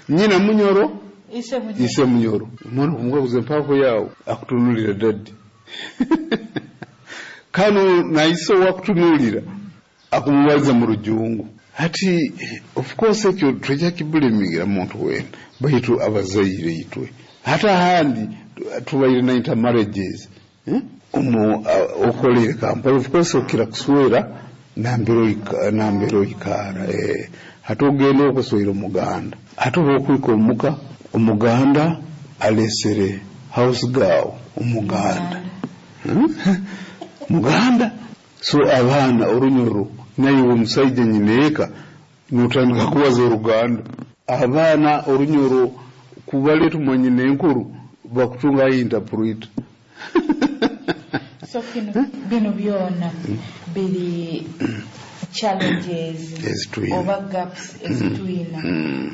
Nyina Munyoro, ise Munyoro. Omwana okumukaguza, "Empaako yawe?" Akutunulira, "Daddy." Kano naise owakutunulira akumubaliza mu Rujungu. Hati of course ekyo twejja kiblamingira muntu wena, baitu abazaire itwe. Hati ahandi tubaire na intermarriages, eh? Omu okolere Kampala, of course okira kuswera nambere oikara. Hati ogenda okuswera Omuganda, hati oba okwika omuka, Omuganda alesere house girl Omuganda, Muganda. So abaana Orunyoro, naiwe omusaija nyineeka notandika kubaza Oruganda. Abaana Orunyoro kubaleeta omwanyina enkuru, bakutunga interpreter. So kino, bino byona biri challenges Ezitwina. oba gaps ezitwina,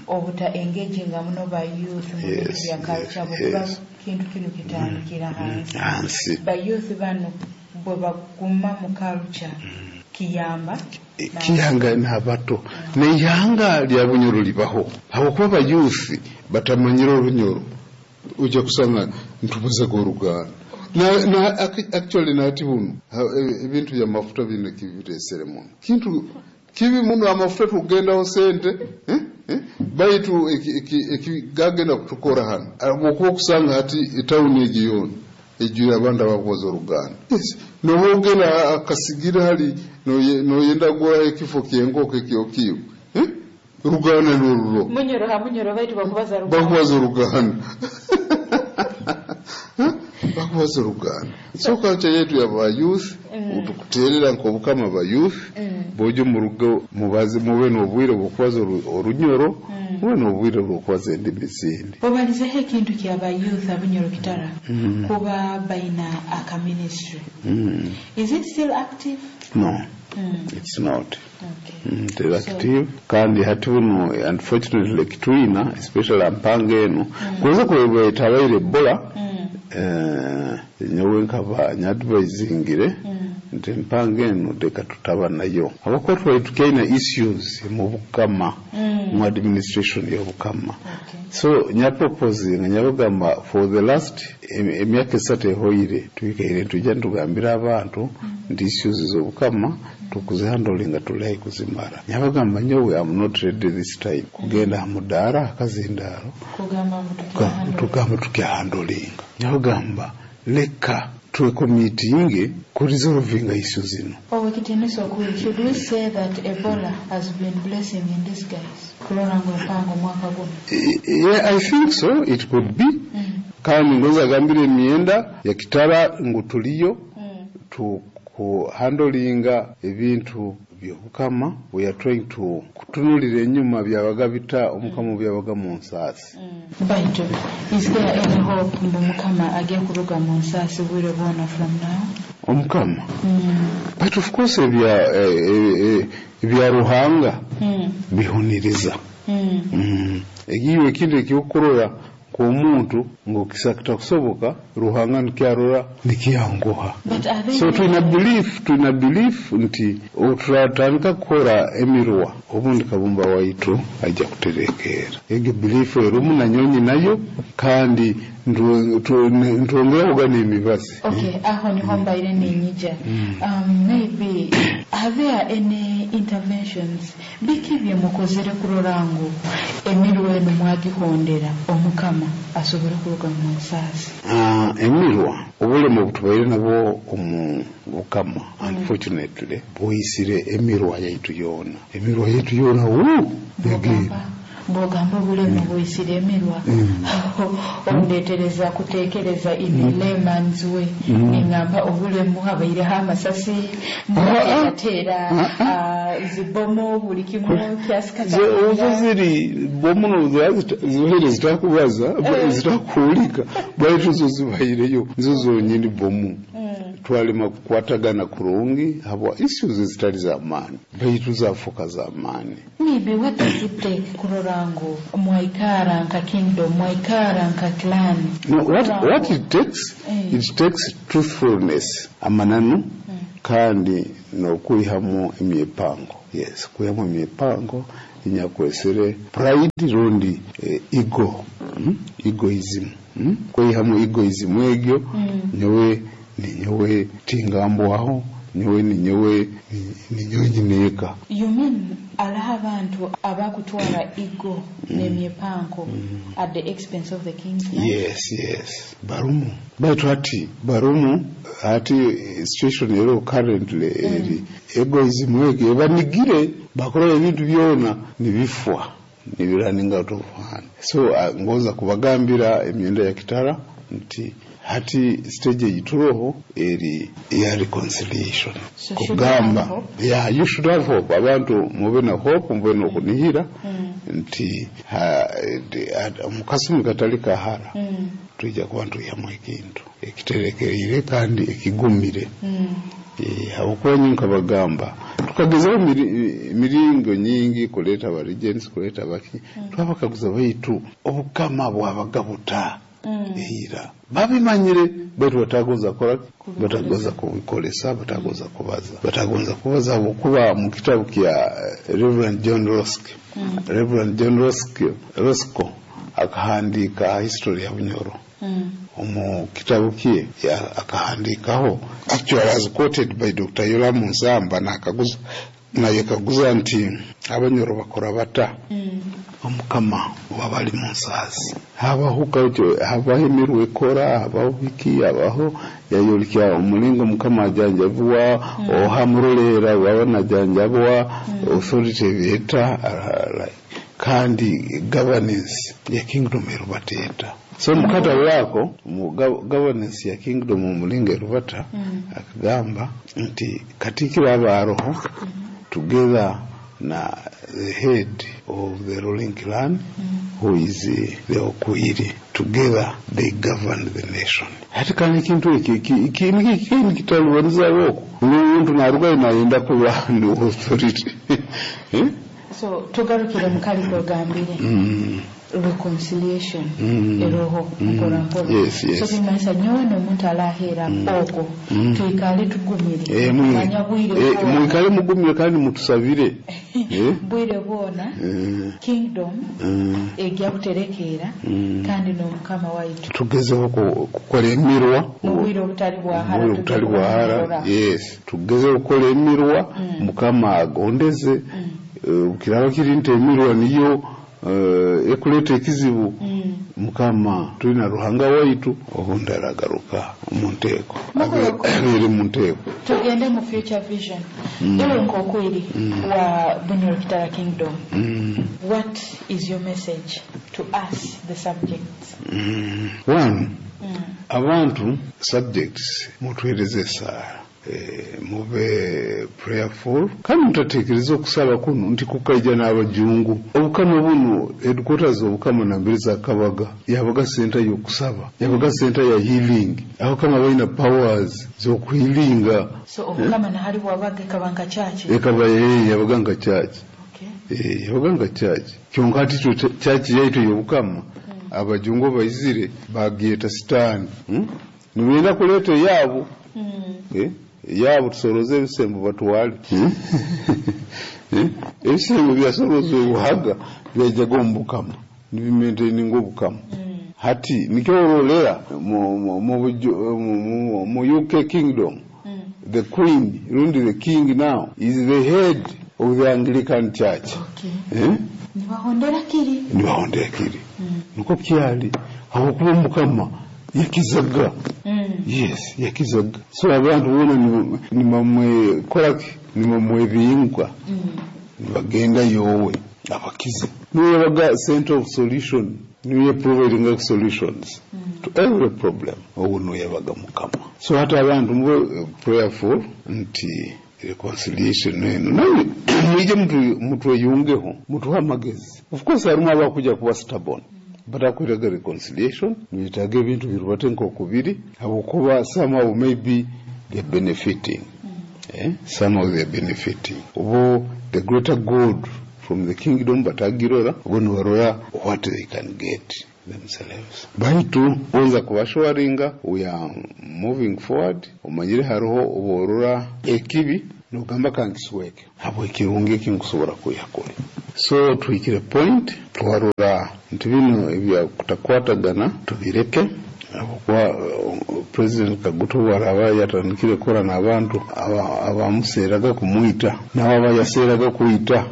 obuta engaginga muno ba youth mu bintu bya culture, bwekuba kintu kino kitandikira hansi. Hansi. Ba youth bano bwe baguma mu culture, kiyamba. Kiyanga n'abato, neihanga lya Bunyoro libaho, habwokuba aba youth batamanyire Orunyoro. Ojja kusanga ntubazaga Oruganda na actually nati buno ebintu byamafuta bino kibiresere muno, kintu kibi muno. Amafuta tugendaho sente, eh? Eh? Baitu gagenda kutukora hano, bwokuba okusanga hati etawuni egi yoona ejwire abantu abakubaza Oruganda. Yes. Noba ogenda akasigira hali noyenda kugura ekifo kyenkoko ekyokiwe, eh? Ruganda noruro. Munyoro ha Munyoro, baitu bakubaza Ruganda. Bakubaza Oruganda. Eh? Bakubaza Oruganda. So culture yetu yaba youth, tukuterera nk'obukama ba youth bojo mu rugo, mubaze, mube n'obwire bw'okubaza Orunyoro, mube n'obwire bw'okubaza endimi zindi. Obalizeho ekintu kyaba youth Abunyoro Kitara kuba baina aka ministry. Is it still active? No, it's not. Teri active. Kandi hati buno unfortunately kitwina, especially ampanga eno kuweza kwetabaire Ebola. Nyowe nkaba nyadvisingire nti empanga eno leka tutaba nayo, habwokuba twali tukyaina issues mu bukama, mu administration y'obukama. So nyaproposinga, nyabagamba, for the last emyaka 3 ehoire twikaire tujja nitugambira abantu nti issues z'obukama tukuzihandlinga, tulayi kuzimara. Nyabagamba, nyowe am not ready this time kugenda aha mudaara akazindaaro Kugamba ngu tukyahandle. Tugamba tukyahandlinga. Nyabagamba, leka twecommittinge kuresolvinga issue zino. Owekitinisa okuli, should we say that Ebola has been blessing in disguise kulora ngu empango omwaka guno? Yeah, I think so, it could be. Kandi ngoza agambire emyenda ya Kitara ngu tuliyo tukuhandlinga ebintu byobukama. We are trying to kutunulira enyuma byabaga bita omukama byabaga mu nsaasi. Baitu is there any hope mbu Mukama ajja kuruga mu nsaasi bwire bwona from now? Omukama, but of course ebya Ruhanga bihuniriza. Egiwe ekintu ekyokurora nk'omuntu ngu kitakusoboka, Ruhanga nikyarora nikyanguha. But are they So tulina belief nti turatandika kukora emirwa, obundi Kabumba waitu ajja kuterekeera. Egyo belief erumu nanyonyi nayo, kandi ntwongera kugana emibazi. Okay, aho niho mbaire ninyija. Maybe are there any interventions, biki bye mukozere kurora ngu emirwa eno mwagihondera, Omukama asobole kuruga mu nsaasi? Ah, emirwa, obulemu obutubaire nabwo omu bukama unfortunately buyisire emirwa yaitu yoona, emirwa yaitu yoona wu yagenda. Bwogamba obulemu buyisire emirwa, ondetereza kutekereza in a layman's way. Ningamba obulemu habaireho amasasi mubateerateera zibomo, buli kimu kyasika. Ozo ziri bomuno zibaire zitakubaza, zitakuwulika, baitu zo zibaireyo, nizo zonyini bomu. Twalema kukwatagana kurungi habwa issues ezitali z'amaani, baitu zafuuka z'amaani. Maybe what does it take kurora ngu mwaikara nka kingdom, mwaikara nka clan? No, what it takes, it takes truthfulness, amananu, kandi n'okwihamu emyepango. Yes, kwihamu emyepango. Nyakwesere pride rundi ego, egoism, Kweyihamu egoism egyo, nyowe ninyowe tingambwaho, nyowe ninyowe ninyowe nyineeka. You mean alaho abantu abakutwara ego n'emyepanko at the expense of the king's life? Yes, barumu. Baitu hati barumu, hati situation ero currently eri egoism egyo ebanigire, bakora ebintu byona nibifwa, nibirunning out of hand. So ngoza kubagambira emyenda ya kitara nti hati stage eyituroho eri ya reconciliation. So should we have Kugamba, hope? Yeah, you should have hope. Abantu mube na hope, mube nokunihira nti mukasumi katali kahara tujja kuba ntuyamu ekintu ekiterekereire kandi ekigumire. Habwokuba nyo nkabagamba tukagezaho miringo nyingi kuleta aba regents, kuleta abaki, twabakaguza baitu obukama bwabaga buta eira babimanyire, baitu batagonza kora, batagonza kubikolesa, batagonza kubaza, batagonza kubaza. Habwokuba mu kitabu kya Reverend John Rosk, Reverend John Roscoe akahandika history ya Bunyoro. Omu kitabu kye akahandikaho, actually as quoted by Dr. Yoramu Nsamba, nakaguza nayekaguza nti Abanyoro bakora bata omukama wabali mu nsaasi, habaho kaucho, habaho emirwa ekora, habaho biki, habaho yayolikya omulingo mukama ajanjabwa, oha murolera waba najanjabwa, authority eta like, kandi governance ya kingdom erubateeta. So mukata wako mu governance ya kingdom omulingo erubata, akagamba nti katikiro aba aroho together na the head of the ruling clan, who is the Okwiri, together they govern the nation. Hati kandi ekintu eki kitalubaniza oko omuntu narugayo nayenda kuba ni authority. So tugarukire mukali kwegambire reconciliation eroho mpora mpora. Yes. So kimanyisa nyowe n'omuntu alahera okwo twikale tugumire. Manya bwire bwona. Mwikale mugumire kandi mutusabire. Bwire bwona kingdom ejja kuterekeera kandi n'omukama waitu. Tugezeho kukola emirwa mu bwire obutali bwahara. Obwire obutali bwahara. Yes, tugezeho kukola emirwa, mukama agondeze. Kiraba kiri nti emirwa niyo ekuleta ekizibu, mukama tulina Ruhanga waitu obundi aragaruka mu nteeko, abeere mu nteeko. Tugende mu future vision. Iwe nkokwiri wa Bunyoro Kitara Kingdom, what is your message to us the subjects? One, abantu subjects mutuhereze esaara, mube prayerful kandi mutatekereza okusaba kuno nti kukaija n'abajungu. Obukama buno headquarters obukama nambere za Kabaga yabaga center y'okusaba, yabaga center ya healing. Abakama balina powers z'okuhealinga. So obukama nahali bwabaga ekaba nka church? Ekaba yabaga nka church. Yabaga nka church. Kyonka ati church yaitu y'obukama abajungu baizire bagyeta sitaani. Nibenda kuleta yaabo. Yaabo tusoroze ebisembo batwale. Ebisembo byasoroze obuhaga byajjaga omu bukama, nibimaintaininga obukama. Hati nikyo orolera mu UK kingdom, the queen rundi the king now is the head of the Anglican Church. Nibahondera kiri. Nibahondera kiri. Niko kyali habwokuba mukama yakizaga. Yes, yakizaga. So abantu bona nimamwekoraki, nimamwebingwa, nibagenda yowe abakize. Niwe yabaga center of solution, niwe providing solutions to every problem. Owo niwe yabaga mukama. So hata abantu mube prayerful nti reconciliation eno naye mwije mutweyungeho, mutuhe amagezi. Of course harimu abakuja kuba stubborn, batakwiraga reconciliation, nibetaaga ebintu birubate nk'okubiri, habwokuba somehow maybe they're benefiting. Somehow they're benefiting. Obo the greater good from the kingdom batagirora, obo nibarora what they can get themselves. Baitu bonza kubashoringa we are moving forward. Omanyire hariho oborora ekibi nogamba kankisweke habwe ekirungi ekinkusobora kuyakora. So tuhikire point twarora nti bino ebyakutakwatagana tubireke, habwokuba President Kaguta obu araba yatandikire kukora n'abantu abamuseeraga kumwita, nabo abayaseeraga kwita,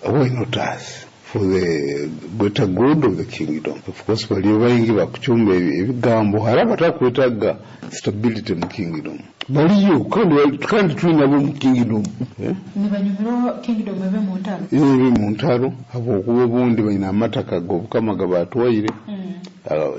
why not us? For the greater good of the kingdom. Of course baliyo baingi bakucumba ebigambo, hari abatakwetaaga stability mu kingdom. Baliyo kandi twinabo mu kingdom. Nibanyumirwa kingdom ebe mu ntaro? Ebe mu ntaro, habwokuba obundi baina amataka g'obukama gabatwaire.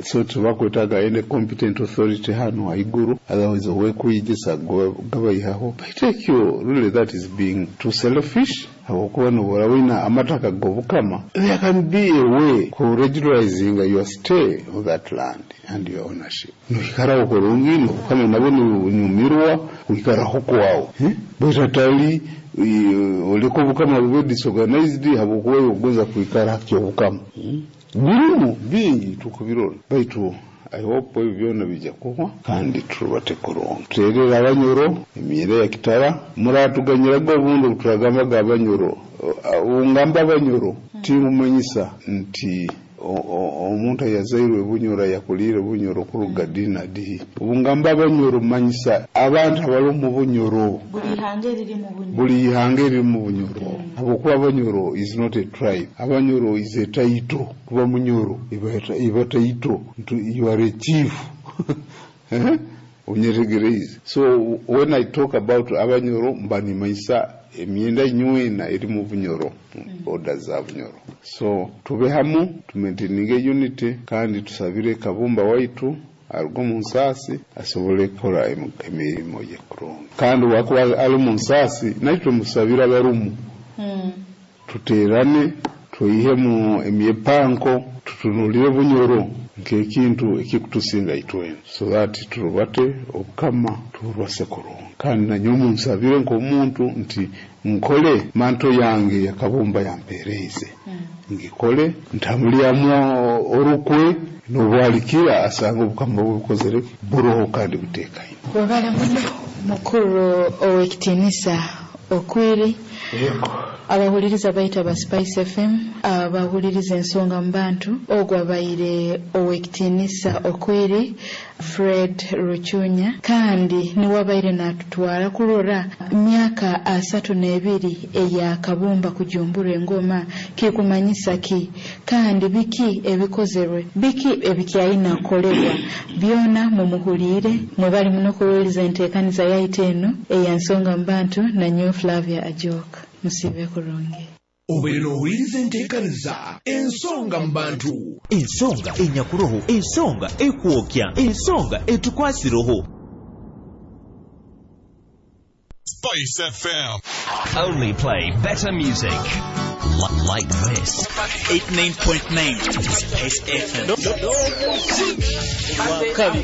So tubakwetaaga any competent authority hano haiguru, otherwise owekwigisa gabayihaho. But ekyo really that is being too selfish, habwokuba nobora wina amataka g'obukama, there can be a way ku regularizing your stay on that land and your ownership. Noikaraho kurungi, n'obukama nabwo nibunyumirwa kwikaraho kwawe. Baitu atali oleka obukama bube disorganized habwokuba ogonza kwikara kyobukama. Birimu bingi tukubirora, baitu I hope ebyo byona bijja kuhwa kandi turubate kurungi. Tuterera Abanyoro emyenda ya kitara, muratuganyiraga obundi obuturagambaga Abanyoro. Ungamba Abanyoro timumanyisa nti omuntu ayazairwe Bunyoro yakuliire Bunyoro kuruga ddi na ddi. Obungamba Abanyoro manyisa abantu abali omu Bunyoro. Buli ihanga eriri mu Bunyoro. Buli ihanga eriri mu Bunyoro. Habwokuba Abanyoro is not a tribe. Abanyoro is a title. Kuba Munyoro iba title. You are a chief. Onyetegereze. So when I talk about Abanyoro mba nimanyisa emyenda nywena eri mu Bunyoro, order za Bunyoro. So tube hamu, tumaintaininge unity, kandi tusabire Kabumba waitu aruge omu nsaasi asobole kukora emirimo ye kurungi. Kandi wakuba ari mu nsaasi naitwe musabire abarumu. Tuterane, twihemu emyepanko, tutunulire Bunyoro nk'ekintu ekikutusinga itwena, so that turubate obukama turubase kurungi. Kandi nanyowe munsabire nk'omuntu nti nkole manto yange ya Kabumba yampereize, ngikole ntamulyamu orukwe n'obwalikira asanga obukama bukozere buroho kandi butekaine. Webale muno mukuru ow'ekitiinisa Okwiri. Abahuliriza baita ba Spice FM, abahuliriza ensonga mu bantu, ogwo abaire ow'ekitiinisa Okwiri Fred Ruchunya, kandi niwe abaire natutwara kurora myaka 32 eya Kabumba kujumbura engoma kikumanyisa ki, kandi biki ebikozerwe, biki ebikyayina kukolebwa, byona mumuhulire. Mwebali muno kuwuliriza enteekaniza yaitu eno eya nsonga mu bantu na nyowe Flavia Ajok. Musibe kurungi. Obeere n'owuliriza enteekaniza ensonga mu bantu. Ensonga enyakuroho, ensonga ekwokya, ensonga etukwasiroho. Spice FM. Only play better music. Like this. 89.9 Spice FM. Wakabi.